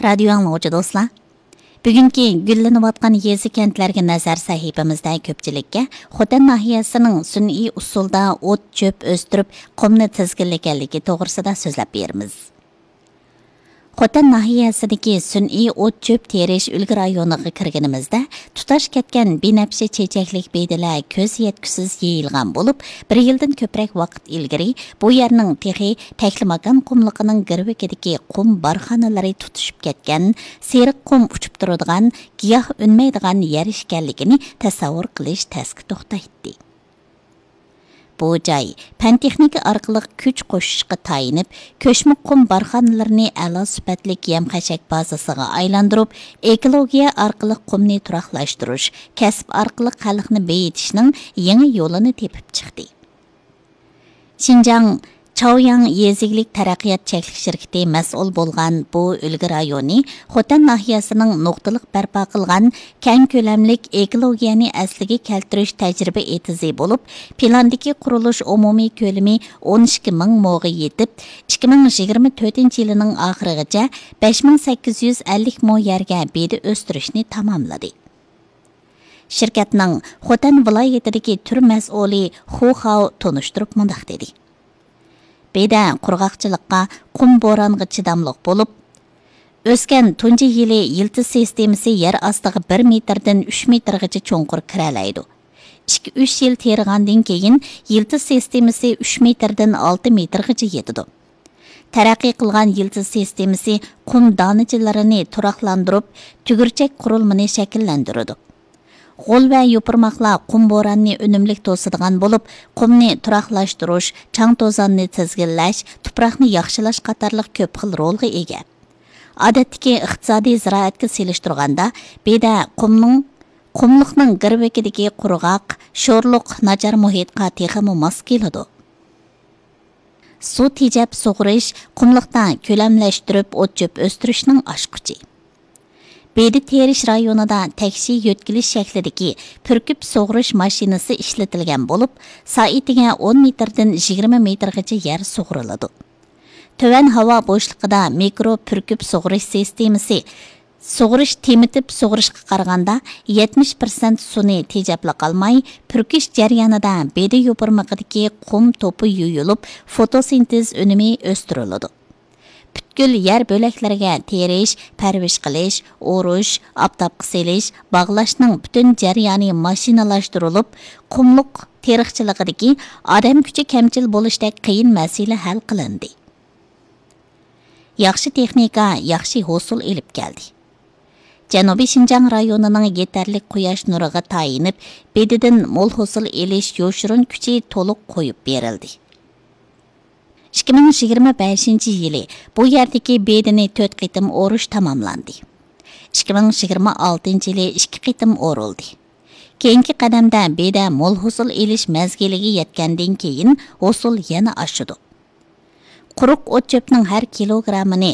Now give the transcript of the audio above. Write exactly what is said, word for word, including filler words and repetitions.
رادىيو ئاڭلىغۇچى دوستلار، بۈگۈنكى گۈللىنىۋاتقان يېزا كەنتلەرگە نەزەر سەھىپىمىزدە كۆپچىلىككە خوتەن ناھىيەسىنىڭ سۈنئىي ئۇسۇلدا ئوت چۆپ ئۆستۈرۈپ، قۇمنى تىزگىنلىگەنلىكى توغرىسىدا سۆزلەپ بېرىمىز. خوتەن ناھىيەسىدىكى سۈنئىي ئوت چۆپ تېرىش ئۈلگە رايونىغا كىرگىنىمىزدە، تۇتاش كەتكەن بىنەپشە چېچەكلىك بېدىلەر كۆز يەتكۈسىز يېيىلغان بولۇپ، بىر يىلدىن كۆپرەك ۋاقىت ئىلگىرى بۇ يەرنىڭ تېخى تەكلىماكان قۇملۇقىنىڭ گىرۋىكىدىكى قۇم بارخانىلىرى تۇتىشىپ كەتكەن، سېرىق قۇم ئۇچۇپ تۇرىدىغان، گىياھ ئۈنمەيدىغان يەر ئىكەنلىكىنى تەسەۋۋۇر قىلىش تەسكە توختايتتى. بۇ جاي پەن تېخنىكا ئارقىلىق كۈچ قوشۇشقا تايىنىپ، كۆچمە قۇم بارخانىلىرىنى ئەلا سۈپەتلىك يەم-خەشەك بازىسىغا ئايلاندۇرۇپ، ئېكولوگىيە ئارقىلىق قۇمنى تۇراقلاشتۇرۇش، كەسىپ ئارقىلىق خەلقنى بېيىتىشنىڭ يېڭى يولىنى تېپىپ چىقتى. شىنجاڭ چاۋياڭ يېزا ئىگىلىك تەرەققىيات چەكلىك شىركىتى مەسئۇل بولغان بۇ ئۈلگە رايونى خوتەن ناھىيەسىنىڭ نۇقتىلىق بەرپا قىلغان كەڭ كۆلەملىك ئېكولوگىيەنى ئەسلىگە كەلتۈرۈش تەجرىبە ئېتىزى بولۇپ، پىلاندىكى قۇرۇلۇش ئومۇمىي كۆلىمى ئون ئىككى مىڭ موغا يېتىپ، ئىككى مىڭ يىگىرمە تۆتىنچى يىلىنىڭ ئاخىرىغىچە بەش مىڭ سەككىز يۈز ئەللىك مو يەرگە بېدە ئۆستۈرۈشنى تاماملىدى. شىركەتنىڭ خوتەن ۋىلايىتىدىكى تۈر مەسئۇلى خۇ خاۋ تونۇشتۇرۇپ مۇنداق دېدى: بېدە قۇرغاقچىلىققا، قۇم بورانغا چىداملىق بولۇپ، ئۆسكەن تۇنجى يىلى يىلتىز سىستېمىسى يەر ئاستىغا بىر مېتىردىن ئۈچ مېتىرغىچە چوڭقۇر كىرەلەيدۇ. ئىككى، ئۈچ يىل تېرىغاندىن كېيىن يىلتىز سىستېمىسى ئۈچ مېتىردىن ئالتە مېتىرغىچە يېتىدۇ. تەرەققىي قىلغان يىلتىز سىستېمىسى قۇم دانىچىلىرىنى تۇراقلاندۇرۇپ، تۈگۈرچەك قۇرۇلمىنى شەكىللەندۈرىدۇ. غول ۋە يوپۇرماقلار قۇم بوراننى ئۈنۈملۈك توسىدىغان بولۇپ، قۇمنى تۇراقلاشتۇرۇش، چاڭ-توزاننى تىزگىنلەش، تۇپراقنى ياخشىلاش قاتارلىق كۆپ خىل رولغا ئىگە. ئادەتتىكى ئىقتىسادىي زىرائەتكە سېلىشتۇرغاندا، بېدە قۇمنىڭ، قۇملۇقنىڭ گىرۋىكىدىكى قۇرغاق، شورلۇق، ناچار مۇھىتقا تېخىمۇ ماس كېلىدۇ. سۇ تېجەپ سۇغىرىش، قۇملۇقتا كۆلەملەشتۈرۈپ ئوت-چۆپ ئۆستۈرۈشنىڭ ئاچقۇچى. بېدە تېرىش رايونىدا تەكشى يۆتكىلىش شەكلىدىكى پۈركۈپ سۇغىرىش ماشىنىسى ئىشلىتىلگەن بولۇپ، سائىتىگە ئون مېتىردىن يىگىرمە مېتىرغىچە يەر سۇغىرىلىدۇ. تۆۋەن ھاۋا بوشلۇقىدا مىكرو پۈركۈپ سۇغىرىش سىستېمىسى سۇغىرىش تېمىتىپ سۇغىرىشقا قارىغاندا يەتمىش پىرسەنت سۇنى تېجەپلا قالماي، پۈركۈش جەريانىدا بېدە يوپۇرمىقىدىكى قۇم توپا يۇيۇلۇپ، فوتوسىنتېز ئۈنۈمى ئۆستۈرۈلىدۇ. پۈتكۈل يەر بۆلەكلىرىگە تېرىش، پەرۋىش قىلىش، ئورۇش، ئاپتاپقا سېلىش، باغلاشنىڭ پۈتۈن جەريانى ماشىنىلاشتۇرۇلۇپ، قۇملۇق تېرىقچىلىقىدىكى ئادەم كۈچى كەمچىل بولۇشتەك قىيىن مەسىلە ھەل قىلىندى. ياخشى تېخنىكا ياخشى ھوسۇل ئېلىپ كەلدى. جەنۇبىي شىنجاڭ رايونىنىڭ يېتەرلىك قۇياش نۇرىغا تايىنىپ، بېدىدىن مول ھوسۇل ئېلىش يوشۇرۇن كۈچى تولۇق قويۇپ بېرىلدى. ئىككى مىڭ يىگىرمە بەشىنچى يىلى بۇ يەردىكى بېدىنى تۆت قېتىم ئورۇش تاماملاندى. ئىككى مىڭ يىگىرمە ئالتىنچى يىلى ئىككى قېتىم ئورۇلدى. كېيىنكى قەدەمدە بېدە مول ھوسۇل ئېلىش مەزگىلىگە يەتكەندىن كېيىن، ھوسۇل يەنە ئاشىدۇ. قۇرۇق ئوت-چۆپنىڭ ھەر كىلوگراممىنى